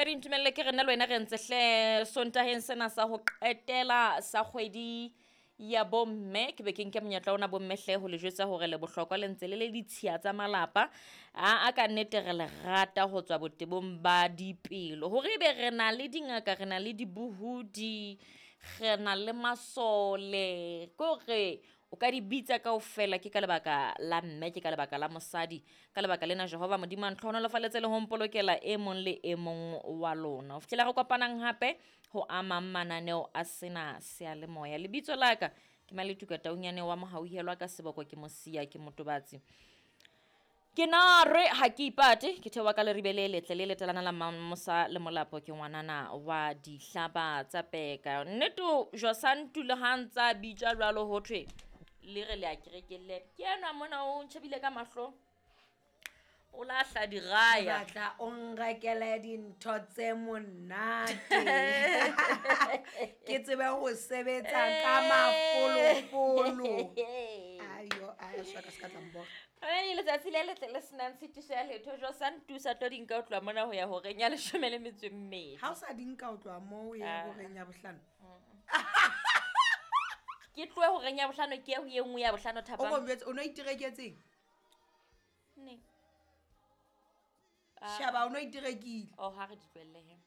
Monghadi, ntumelle ke re nna le wena re ntse hle Sontaheng sena sa ho qetela sa kgwedi ya bomme. Ke be ke nke monyetla ona bomme hle ho le jwetsa hore le bohlokwa, le ntse le le ditshiya tsa malapa. Aa ka nnete re le rata ho tswa botebong ba dipelo. Hore ebe re na le dingaka, re na le dibohodi, re na le masole, ke hore o ka di bitsa kaofela ke ka lebaka la mme, ke ka lebaka la mosadi. Ka lebaka lena Jehova Modimo a ntlhohonolofaletse le ho mpolokela e mong le e mong wa lona. Ho fihlela re kopanang hape ho amang mananeo a sena seyalemoya. Lebitso la ka ke Maletuka Taunyane wa Mohauhelwa ka seboko ke Mosia ke Motobatsi. Ke na re ha ke ipate, ke theoha ka leribe le letle le letalana la Mamosa le Molapo, ke ngwanana wa dihlaba tsa peka. Nnete Josantu le ha ntsa bitswa jwalo ho thwe le re le a kerekeng le ke enwa mona o ntjhebile ka mahlo, o lahla diraya. Batla o nrekele dintho tse monate, ke tsebe ho sebetsa ka mafolofolo. Ayo, ayo, swa ka se ka tla mbora. Ai, letsatsi le letle le senang tshitiso ya letho. Josantu sa tlo di nka ho tloha mona ho ya horeng ya 12. Ha o sa di nka ho tloha moo o ya Ah. horeng ya 5. Ke tlohe horeng ya 5 ke ye ho e nngwe ya 5 O thapama. ko njwetse, o no itereketseng? Neng? Sheba, o no iterekile. Oh, ha re di tlohelle he.